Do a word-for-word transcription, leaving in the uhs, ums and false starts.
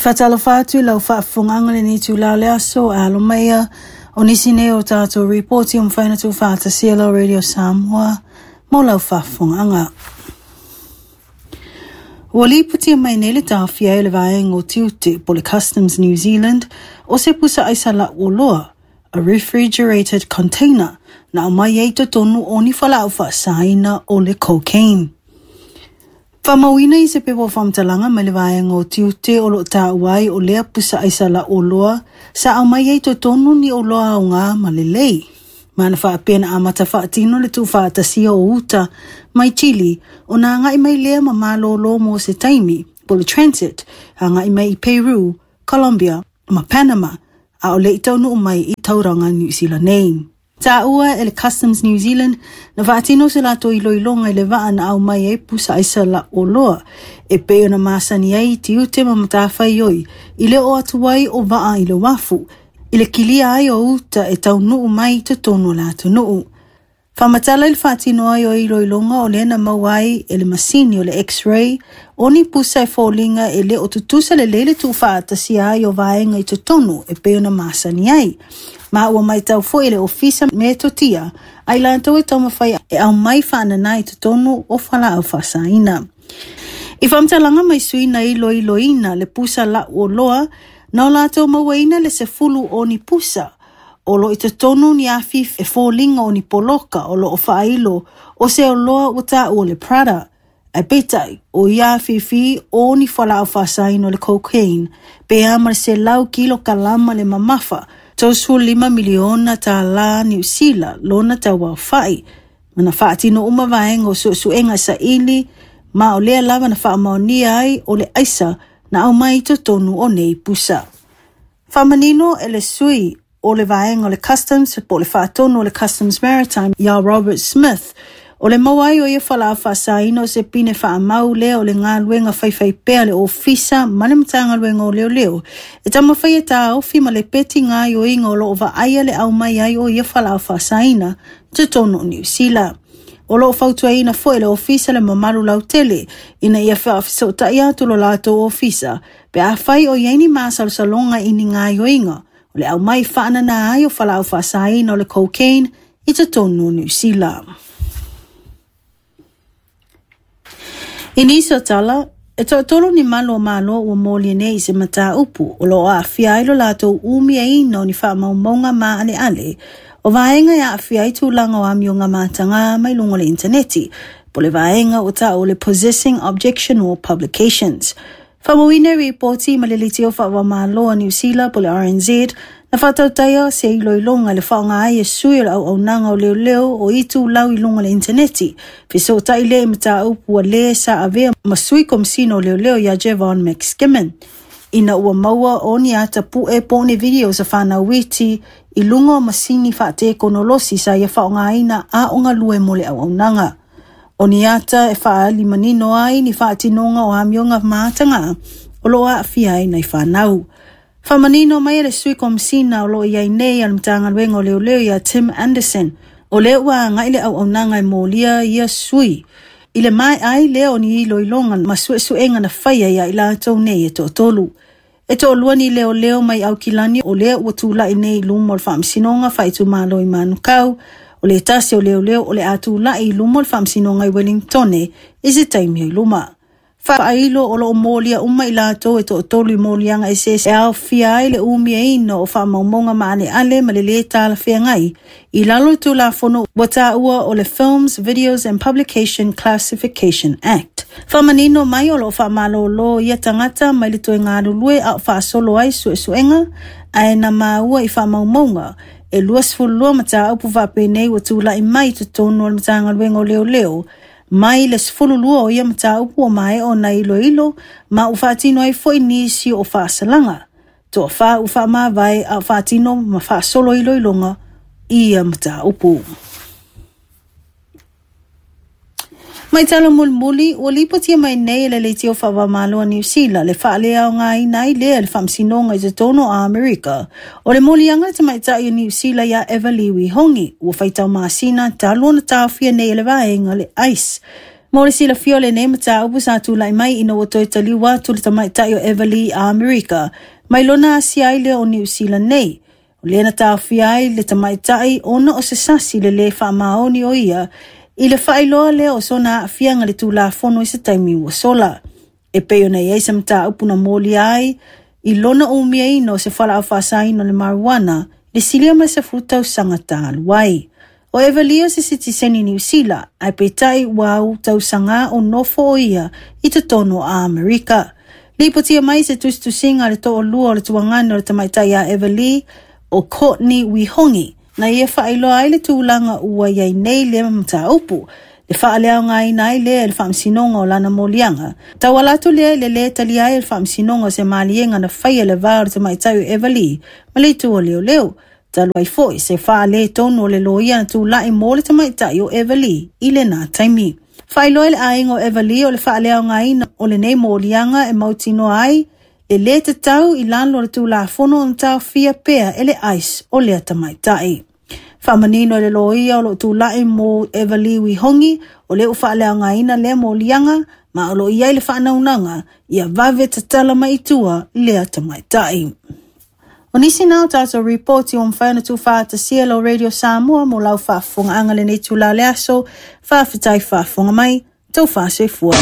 Faatalofa atu i lau faafofogaaga i lenei itulā o le aso, e alo mai ia o nisi nei o tatou ripoti ua mafai ona tuufaatasia e lau Radio Samoa mo lau faafofogaaga. Ua lipotia mai nei le taofia ai o le vaega o tiute po o le Customs New Zealand o se pusa aisa lauoloa, a refrigerated container, na aumai ai i totonu o ni fualaau faasaina o le cocaine. Faamauina i se pepa o faamatalaga mai le vaega o tiute o lo o taua ai o lea pusa aisa lauoloa sa aumai ai i totonu ni oloa aoga ma lelei. Ma na faapea na amata faatino le tuufaatasia o uta mai Chile ona agai mai lea ma malōlō mo se taimi, po o le transit, agai mai i Peru, Colombia ma Panama, a o le i taunuu mai i taulaga Niu Sila nei. Taua e le Customs New Zealand na faatino se latou iloiloga i le vaa na aumai ai pusa aisa lauoloa e pei ona masani ai i tiute ma matafaioi i le oo atu ai o vaa i le uafu, i le kilia ai o uta e taunuu mai i totonu o le atunuu. Faamatala i le faatino ai o iloiloga o lea na maua ai e le masini o le X-ray o ni pusa e foliga e le o tutusa lelei le tuufaatasia ai o vaega i totonu e pei ona masani ai. Ma ua matau foi e le ofisa metotia a i latou e taumafai e aumai faanana i totonu o fualaau faasaina. I faamatalaga mai sui na iloiloina le pusa lauoloa, na o latou mauaina le sefulu o ni pusa o lo o i totonu ni afi e foliga o ni poloka o lo o faailo o se oloa ua taua o le Prada. Ae peitai, o ia afifi o ni fualaau faasaina o le cocaine, pe a ma le selau kilokalama le mamafa, tolusefulu lima miliona tālā Niu Sila lona tauaofai. Ma na faatino uma vaega o suesuega e saili, ma o lea lava na faamaonia ai o le aisa na aumai i totonu o nei pusa. Faamanino e le sui o le vaega o le Customs po o le faatonu o le Customs Maritime ia Robert Smith, o le maua ai o ia fualaau faasaina o se pine faamau lea o le galuega faifaipea a le ofisa ma le Matagaluega o Leoleo e taumafai e taofi ma lepeti gaoioiga o lo o vaaia le aumai ai o ia fualaau faasaina i totonu o Niu Sila. O lo o fautuaina foi e le ofisa le mamalu lautele ina ia faafesootai atu lo latou ofisa pe afai o i ai ni masalosaloga i ni gaoioiga o le aumai faanana ai o fualaau faasaina o le cocaine i totonu o Niu Sila. I nisi o tala, e toatolu ni malu o Malo ua molia nei i se mataupu o lo o aafia ai lo latou umiaina o ni faamaumauga maaleale o vaega e aafia ai tulaga o amioga mataga mai luga o le initaneti, po o le vaega ua taua o le Possessing Objectionable Publications. Faamauina i ripoti ma le leitio faava-o-Malo a Niu Sila po o le R N Z na faatautaia se iloiloga i le faaaoga ai e sui o le auaunaga o leoleo o itulau i luga o le initaneti, fesootai lea i mataupu ua lē sa avea ma sui komisina o leoleo ia Javon McSkimming, ina ua maua o ni ata pu'e po o ni video sa fanau iti i luga o masini faatekonolosi sa ia faaaogaina a o galue mo le auaunaga. O ni ata e faaali manino ai ni faatinoga o amioga mataga o lo o aafia ai nai fanau. Faamanino mai e le sui komisina o lo o i ai nei a le Matagaluega o Leoleo ia Tim Anderson, o lea ua agai le auaunaga e molia ia sui i le maea ai lea o ni iloiloga ma suesuega na faia ia i latou nei e toatolu. E toalua ni leoleo mai Aukilani o lea ua tula'i nei i luma o le faamasinoga faaitumalo i Manukau, o le tasi o leoleo o le a tula'i i luma o le faamasinoga i Wellingtone i se taimi o i luma. Faailo o lo o molia uma i latou e toatolu i moliaga eseese e aofia ai le umiaina o faamaumauga maaleale ma le lē talafeagai i lalo o le Tulafono ua taua o le Films, Videos and Publication Classification Act. Faamanino mai o lo o faamalōlō ia tagata mai le toe galulue a o faasolo ai suesuega ae na maua i faamaumauga e luasefululua mataupu faapenei ua tula'i mai i totonu o le Matagaluega o Leoleo mai le sefululua o ia mataupu ua maea ona iloilo ma ua faatino ai foi nisi o faasalaga. Toafā ua faamavae a o faatino ma faasolo iloiloga i ia mataupu. Mai tala mulimuli, ua lipotia mai nei e le leitio faava-o-Malo a Niu Sila le faaleaogaina ai lea le faamasinoga i totonu o Amerika o le moliaga le tamaitai o Niu Sila ia Eva Liwi Hongi ua faitau masina talu ona taofia nei e le vaega le ICE. Mo le silafia o lenei mataupu sa tula'i mai ina ua toe taliu atu le tamaitai o Eva Lee i Amerika mai lona asia ai lea o Niu Sila nei. O lea na taofia ai le tamaitai ona o se sasi le lē faamaoni o ia i le faailoa lea o sona aafiaga i le Tulafono i se taimi ua sola. E pei ona i ai se mataupu na molia ai i lona umiaina o se fualaau faasaina o le marijuana le silia ma le sefulu tausaga talu ai. O Eva Lee o se sitiseni Niu Sila, ae peitai ua au tausaga o nofo o ia i totonu o Amerika. Lipotia mai se tusitusiga a le toalua o le tuagane o le tamaitai ia Eva Lee o Courtney Wihongi, na ia faailoa ai le tulaga ua i ai nei lea mataupu, le faaleaogaina ai lea e le faamasinoga o lana moliaga. Tauala atu lea i le lē talia ai e le faamasinoga o se maliega na faia i le va o le tamaitai o Eva Lee ma le itu o leoleo. Talu ai foi se faaletonu o le loia na tula'i mo le tamaitai o Eva Lee i lena taimi. Faailoa e le aiga o Eva Lee o le faaleaogaina o lenei moliaga e mautinoa ai le lē tatau i lalo o le Tulafono ona taofia pea e le ICE o lea tamaitai. Faamanino e le loia o loo tula'i mo Eva Lee Wihongi o lea ua faaleaogaina lea moliaga ma o loo i ai le faanaunaga ia vave tatala mai i tua lea tamaitai. O nisi na o tatou ripoti ua mafai ona tuufaatasia lau Radio Samoa mo lau faafofogaaga lenei itula o le aso. Faafetai faafofoga mai, tau faasoifua.